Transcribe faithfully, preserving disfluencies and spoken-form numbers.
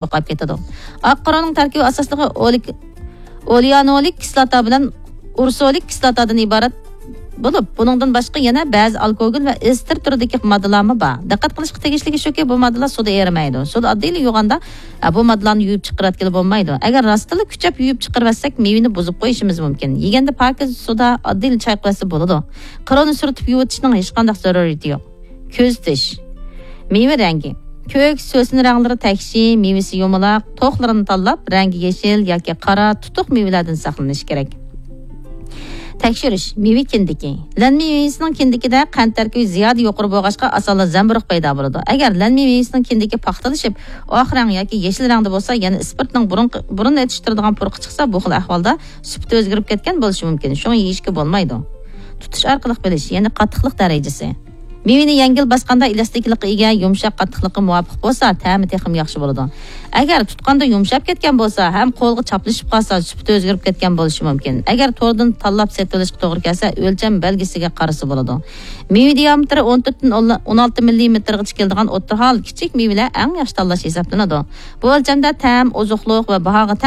يوقاپ كېتىدۇ. ئاق قورۇنىڭ تەركىبى ئاساسلىقى ئولېك-، ئولېئانولىك كىسلاتا بىلەن ئۇرسولىك كىسلاتادىن ئىبارەت بولۇپ، بۇنىڭدىن باشقا يەنە بەزى ئالكوگول ۋە ئېستېر تۈرىدىكى ماددىلارمۇ بار. دىققەت قىلىشقا تېگىشلىكى شۇكى، بۇ ماددىلار سۇدا ئېرىمەيدۇ. سۇدا ئاددىيلا يۇغاندا، ئە، بۇ ماددىلارنى يۇيۇپ چىقىرىۋەتكىلى بولمايدۇ. ئەگەر راستتىنلا كۈچەپ يۇيۇپ چىقىرىۋەتسەك، مېۋىنى بۇزۇپ قويۇشىمىز مۇمكىن. يېگەندە پاكىز سۇدا ئاددىيلا چايقىۋەتسە بولىدۇ. قورۇنى سۈرتۈپ يۇۋېتىشنىڭ ھېچقانداق زۆرۈرىيىتى يوق. كۆزىتىش. مېۋە رەڭگى. كۆك، سۆسن رەڭلىرى تەكشى، مېۋىسى يۇمىلاق، توخلىرىنى تاللاپ، رەڭگى يېشىل ياكى قارا تۇتۇق مېۋىلەردىن ساقلىنىش كېرەك. تەكشۈرۈش. مېۋە كىندىكى. لەنمە مېۋىسىنىڭ كىندىكىدە قەنت تەركىبى زىيادە يۇقىرى بولغاچقا، ئاسانلا زەمبۇرۇغ پەيدا بولىدۇ. ئەگەر لەنمە مېۋىسىنىڭ كىندىكى پاختىلىشىپ، ئاق رەڭ ياكى يېشىل رەڭدە بولسا، يەنى ئىسپىرتنىڭ بۇرۇن، بۇرۇن ئېتىشتۇرىدىغان پۇرىقى چىقسا، بۇ خىل ئەھۋالدا سۈپىتى ئۆزگىرىپ كەتكەن بولۇشى مۇمكىن. شۇڭا يېيىشكە بولمايدۇ. تۇتۇش ئارقىلىق بىلىش، يەنى قاتتىقلىق دەرىجىسى. مېۋىنى يەڭگىل باسقاندا ئېلاستىكلىققا ئىگە، يۇمشاق قاتتىقلىققا مۇۋاپىق بولسا، تەمى تېخىمۇ ياخشى بولىدۇ. ئەگەر تۇتقاندا يۇمشاپ كەتكەن بولسا ھەم قولغا چاپلىشىپ قالسا، سۈپىتى ئۆزگىرىپ كەتكەن بولۇشى مۇمكىن. ئەگەر توردىن تاللاپ سېتىۋېلىشقا توغرا كەلسە، ئۆلچەم بەلگىسىگە قارىسا بولىدۇ. مېۋە دىيامېتىرى ئون تۆتتىن ئون ئالتە مىللىمېتىرغىچە كېلىدىغان ئوتتۇرا ھال كىچىك مېۋىلەر ئەڭ ياخشى تاللاش ھېسابلىنىدۇ. بۇ ئۆلچەمدە تەم، ئوزۇقلۇق ۋە باھاغا تەڭ